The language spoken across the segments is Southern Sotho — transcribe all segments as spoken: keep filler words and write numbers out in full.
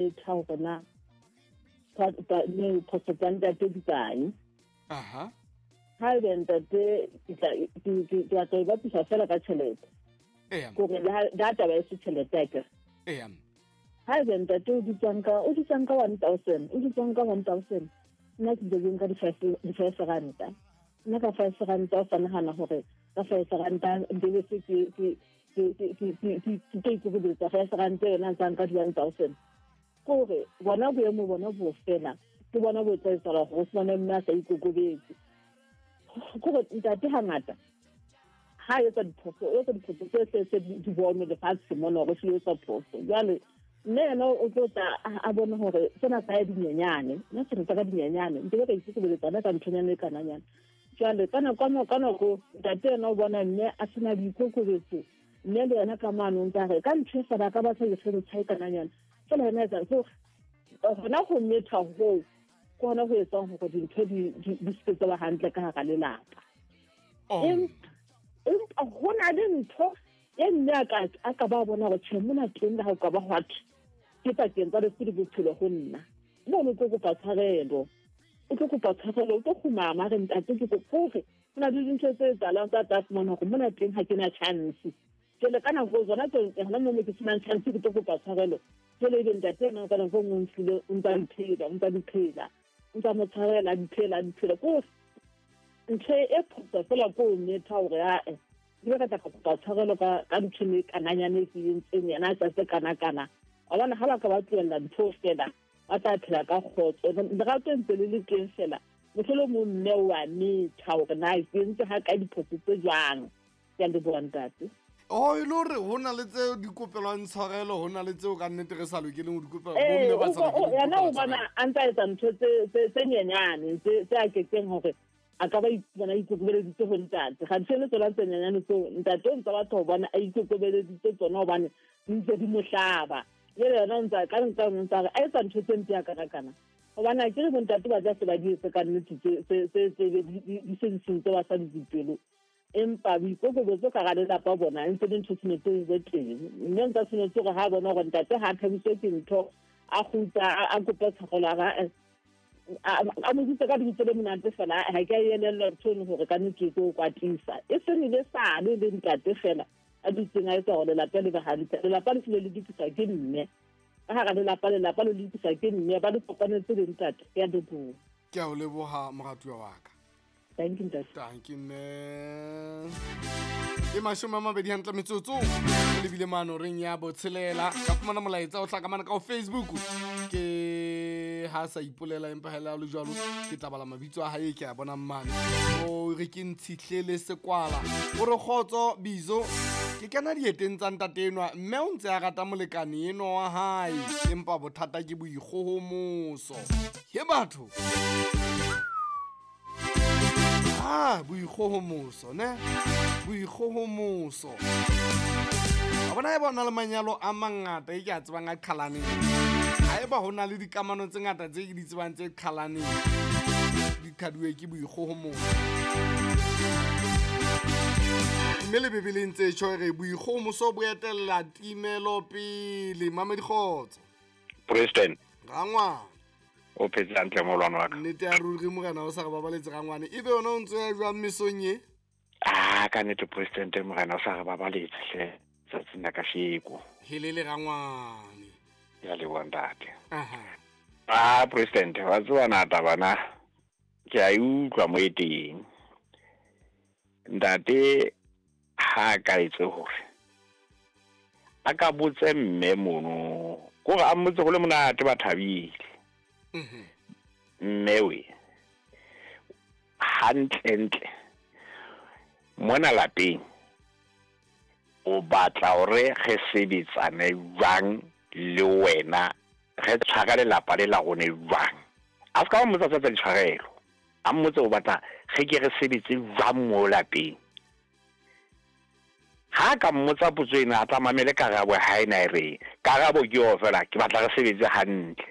metha hore na phoso tsa ntate di kae. Aha. Haebe ntate ke tla ke tla e bapisa fela ka tjhelete. Eya. Kore le ha taba e se tjhelete akere. Eya. Haebe ntate o dutsang ka o dutsang ka one thousand, o dutsang ka one thousand. Nna ke ntse nka di five ranta. Nna ka five ranta o sa nahana hore ka five ranta ntse se ke ke ke ke ke ke ke ikokobetsa five ranta yona ntsa nka di one thousand. Kore bona boemo bona bo fela ke bona bo etsa etsahala hore o fumane mme a sa ikokobetse. Kore ntate hangata ha etsa diphoso, o etsa diphoso tse tse tse di bonwe lefatshe mona hore o etsa phoso. Jwale mme yena o tlo tla a bone hore sena sa ya dinyenyane, nna se re ka dinyenyane, ntse ka ikokobetsa ka nthonyana e kananyana. Jwale ka nako ka nako ntate yena o bona mme a sena boikokobetso, mme le yena ka mano o ntsa re ka ntho e fela ka batla ke se kananyana. Fela yena etsa so hona ho metha hoo ke hona ho etsang hore dintho di di se tsa ba hantle ka hara lelapa. Empa ho na le ntho e mme a ka a ka ba bona hore tjhe mona teng le ha o ka ba hwa ke pakeng tsa lefu le bophelo ho nna. Mono tlo kopa tshwarelo, o tlo kopa tshwarelo, o tlo kgumama re ntate ke kopa hore ho na le dintho tse etsahalang tsa tla fumana hore mona teng ha ke na chance. Jwale ka nako tsona tse hona moo ke senang chance ke tlo kopa tshwarelo. Jwale ebe ntate ena ka nako e nngwe o nfile, o ntsa mphela, o ntsa diphela, o ntsa mo tshwarela, diphela, diphela. Ko ntho e phoso fela ko o metha hore ae ke ka tla kopa tshwarelo ka ka ntho e kananyane e ke entseng yena a tsa se kana kana. Wa bona ha ba ka ba tlohella ntho fela ba tla phela ka kgotso. Lerato ntse le le teng fela mohlolomong mme wa metha hore na ke entse ha ka diphoso tse jwang. Ke a leboha ntate. Oh, e le hore ho na le tseo di kopelwang tshwarelo, ho na le tseo ka nnete re sa lokeleng ho di kopela, bomme ba sa lokeleng ho di Yena o kopela bona tshwarelo. a ntsa etsa ntho tse tse tse nyenyane tse tse a kekeng hore a ka ba ipona ikokobeleditse ho ntate. Ga di tsona tse nyenyane tseo ntate o ntsa batho ho bona a ikokobeleditse tsona hobane di ntse di mo hlaba. Jwale yena o ntsa ka nka o ntsa re a etsa ntho tse mpe a kana kana. Hobane ha ke re bontate ba tla se ba di etse ka nnete tse tse tse tse di di se di sentse basadi dipelo. Empa boikokobetso ka hara lelapa bona e ntse le ntho tshwanetse e be teng. Mme ntsa tshwanetse hore ha bona hore ntate ha a thabiswe ke ntho a kgutla a kope tshwarelo a a mo bitse ka lebitso le monate fela ha ke a elellwa ntho eno hore ka nnete ke o kwatisa. E seng le sale le ntate fela a dutseng a etsa hore lelapa le be hantle. Lelapa le hlile le lokiswa ke mme. Ka hara lelapa, lelapa le lokiswa ke mme, ba le kopanetse le ntate. Ke a leboha. Ke a o leboha moratuwa wa ka. Thank you, ntate. Thank you, mme. Ke mashome a mabedi hantle metsotso. Re lebile mano reng ya botshelela. Ka fumana molaetsa o hlaka mane ka ho Facebook. Ke ha sa ipolela empa hela le jwalo ke tla bala mabitso a hae ke a bonang mane. O re ke Ntshihlele Sekwala. O re kgotso Bizo. Ke kena dieteng tsa ntate enwa mme o ntse a rata molekane enwa wa hae empa bothata ke boikgohomoso. He batho. Ah, boikgohomoso ne? Boikgohomoso. A bona e bona le manyalo a mangata e ke a tsebang a qhalaneng. Haeba ho na le dikamano tse ngata tse ke di tsebang tse qhalaneng, di qhaduwe ke boikgohomoso. Mme le Bibeleng tse tjho re boikgohomoso bo etella timelo pele. Mamedi kgotso. President. Rangwane. O phetse hantle molwana wa ka. Nnete ya ruri morena o sa re babaletse rangwane. Ebe yona o ntso ya jwang mesong e? Ah, ka nnete president morena o sa re babaletse hle tsatsing la kasheko. Helele rangwane. Ya leboha ntate. Aha. Ah, president, wa tseba na taba na? Ke a e utlwa mo e teng. Ntate ha ka etse hore a ka botse mme mono, kore a mmotse go le monate ba thabile. Mhm. Mme we hantlentle mona lapeng o batla hore re sebetsane jwang le wena, re tshwara lelapa le la rona jwang. A ska mmotsa tsa ditshwarelo, a mmotse o batla re ke re sebetse jwang mo lapeng. Ha ka mmotsa potso ena a tla mamele karabo ha ena e reng. Karabo ke eo fela, ke batla re sebetse hantle.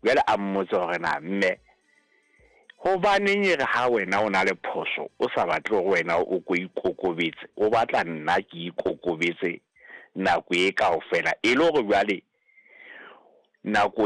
Jwale a mmotse hore na mme hobaneng e re ha wena o na le phoso o sa batle hore wena o ko ikokobetse, o batla nna ke ikokobetse nako e kaofela, e le hore jwale Nako